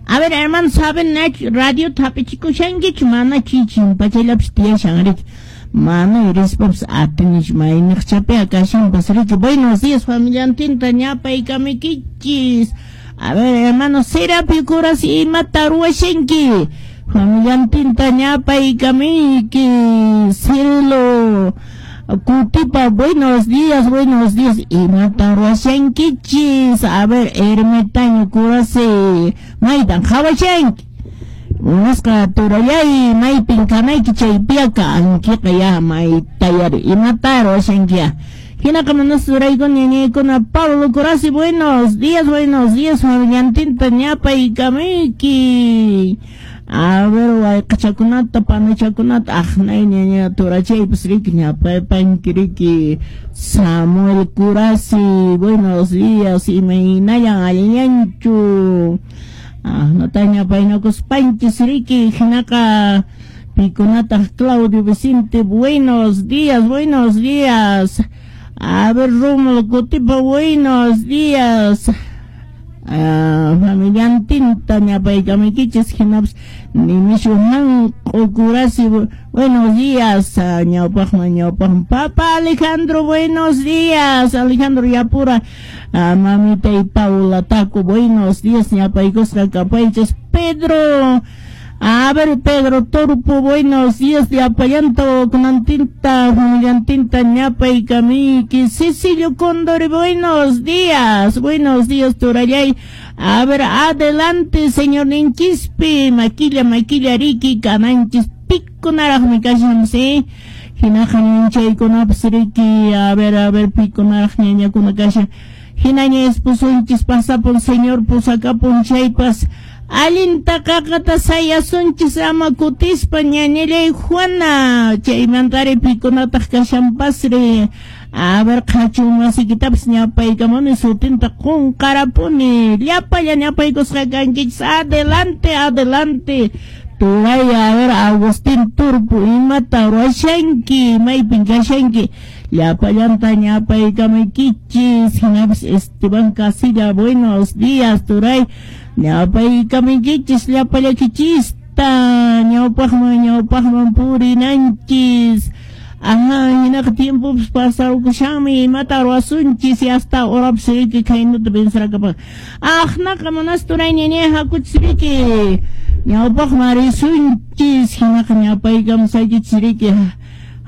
A ver, hermano, saben nachu radio hapichikushankichu mana chichimpachallapis tiyashan riki. Mana rispapas atinichu mayniqchapiqa kashanpas riki. Buenos días familiantinta ñapaykamuykichis. A ver, hermano, Serapio Curasi imata ruwashanki. Familiantinta ñapaykamuyki. Cielo Kutipa, buenos días, buenos días. Imata ruwashankichis. A ver, ermitaño Curasi, maytan qhawashanki. Munasqa turallay maypin kanayki chaypiqa ankiqa ya maytayari imata ruwashanki ya. Hinaqa munasqa turaykuna ñañaykuna Pablo Curasi, buenos días, familiantinta ñapaykamuyki. A ver, wayqachakunata, panachakunata, aqnay ñaña turachaypas riki ñapaypanki riki. Samuel Curasi, buenos días, imaynallan allinllanchu. Ahnata ñapaynakuspanchis riki, hinaqa pikunataq Claudio Vicente, buenos días, buenos días. A ver, Rómulo Kutipa, buenos días. Familiantinta ñapaykamuykichis hinapas Nimishu Hanq'u Curasi, buenos días. Ñawpaqman ñawpaqman Papa Alejandro, buenos días. Alejandro Yapura, mamita y Paula Taco, buenos días. Ñapaykusqa kapaychis. Pedro, a ver, Pedro Torpo, buenos días. Llapallanta kunantinta, familiantinta ñapaykamuyki. Cecilio Condori, buenos días. Buenos días, turallay. A ver, adelante, señor Ninchispi. Maquilla, maquilla, riki, kananchis, pikunaraqmi kashan, ¿sí? Hinaqa ñanchaykunapas riki, a ver, pikunaraq ñañakuna kashan. Hinaña esposunchis pasapun, señor pusakapun chaypas. Allinta qaqata sayasunchis ama kutispa ñañallay Juana. Chaymantari pikunataq kashanpasri. A ver, qhachun masikitapas ñapaykamuni sutinta qunqarapuni. Llapalla ñapaykusqa kankichis. Adelante, adelante. Turay, a ver, Agustín Turpo, imata ruwashanki, maypin kashanki. Llapallanta ñapaykamuykichis. Hinapas Esteban Casilla, buenos días, turay. Ñapaykamuykichis, llapallakichista. Ñawpaqman, ñawpaqman purinanchis. Ajá, hinaqa tiempopas pasarkushanmi, imata ruwasunchis y hasta horapas riki khaynata pensarakapan. Aqnaqa munas turay ñañay hakuchis riki. Ñawpaqman risunchis, hinaqa ñapaykamusaykichis riki.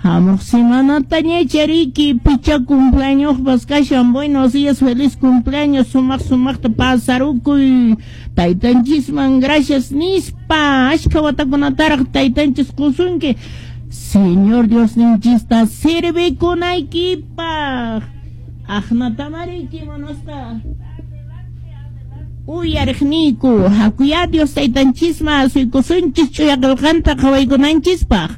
Hamuq semanata ñacha riki, picha cumpleañospas kashan. Buenos días, feliz cumpleaños, sumaq sumaqta pasarukuy. Taytanchisman gracias nispa, ashka watakunataraq taytanchis qusunki. Señor Dios ninchista sirvikunaykipaq. Aqnatamariki munasqa uyariqniyku, hakuya Dios taytanchisman asuykusunchis ch'uya qillqanta qhawaykunanchispaq.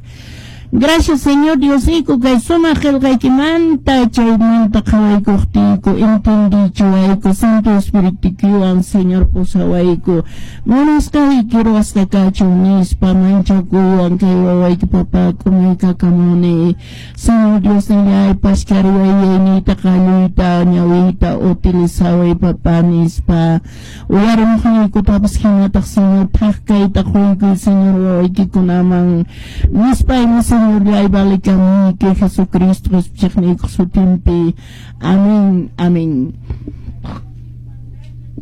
Gracias, Señor Diosniku, kay sumaq qillqaykimanta chaymanta qhawaykuqtiyku, entendichiwayku, Santo Espiritukiwan, Señor, pusawayku. Munasqayki ruwasqa kachun nispa manchakuywan kay wawayki papá k'umuykakamuni. Señor Dios nillay, pashkariway yayniyta, qalluyta, ñawiyta utilizaway papá nispa. Uyarimuqniykutapas hinataq, Señor, thak kayta quykuy, Señor, wawaykikunaman. Nispa ima, Señor, llay valikamuyki Jesucristo qhispichiqniykuq sutinpi. Amén, amén.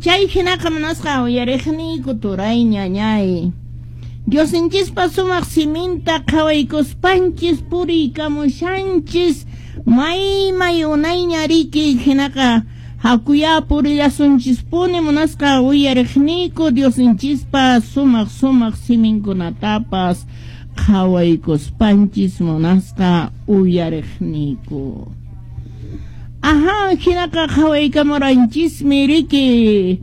Chay hinaqa munasqa uyariqniyku turay ñañay. Diosninchispa sumaq siminta qhawaykuspanchis puriykamushanchis may may unayña riki hinaqa hakuya purillasunchispuni munasqa uyariqniyku Diosninchispa sumaq sumaq siminkunatapas qhawaykuspanchis munasqa uyariqniyku. Ajá, hinaqa qhawaykamuranchismi riki.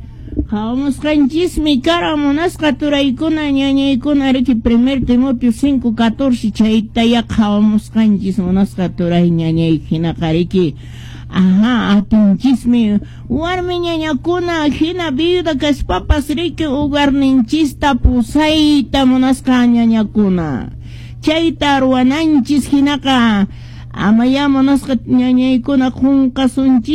Qhawamusqanchismi kara munasqa turaykuna ñañaykuna riki 1 Timoteo 5:14 chaytaya qhawamusqanchis munasqa turay ñañay hinaqa riki. Ajá, atinchismi warmi ñañakuna hina viuda kaspapas riki hogarninchista pusayta munasqa ñañakuna. Chayta ruwananchis hinaqa amaya munasqa ñañaykuna qunqasunchis.